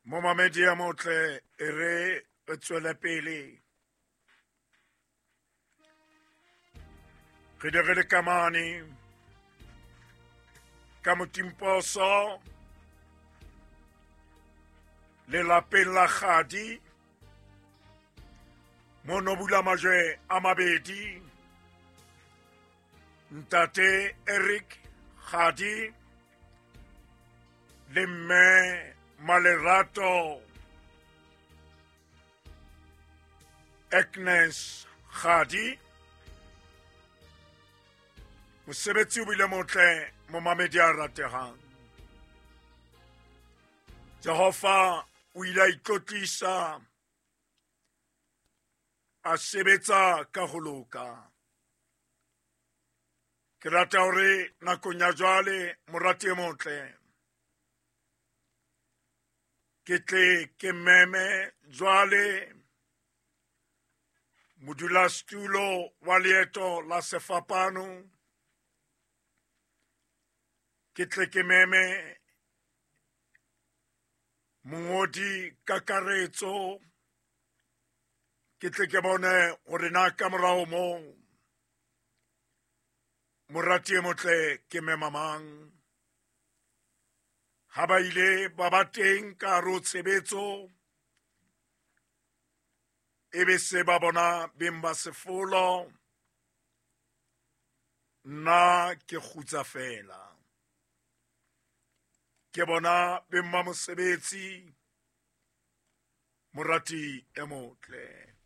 Momamedi ya motle, e re re tswele pele. Re di re le kamane ka motimposo lelapeng la Kgadi mono bula majwe a mabedi, ntate Eric Kgadi le mme Malerato Agnes Kgadi. Mosebetsi o bile motle, momamedi a rategang. Jehova o ile a itlotlisa, a sebetsa ka ho loka. Ke rata hore nakong ya jwale, morati e motle, ke tle ke meme jwale modulasetulo wa leeto la sefapano, ke tle ke meme mongodi kakaretso, ke tle ke bone hore na ka morao moo morati e motle ke mema mang. Ha ba ile ba ba teng ka hare ho tshebetso, e be se ba bona beng ba sefolo, nna ke kgutsa fela. Ke bona beng ba mosebetsi, morati e motle.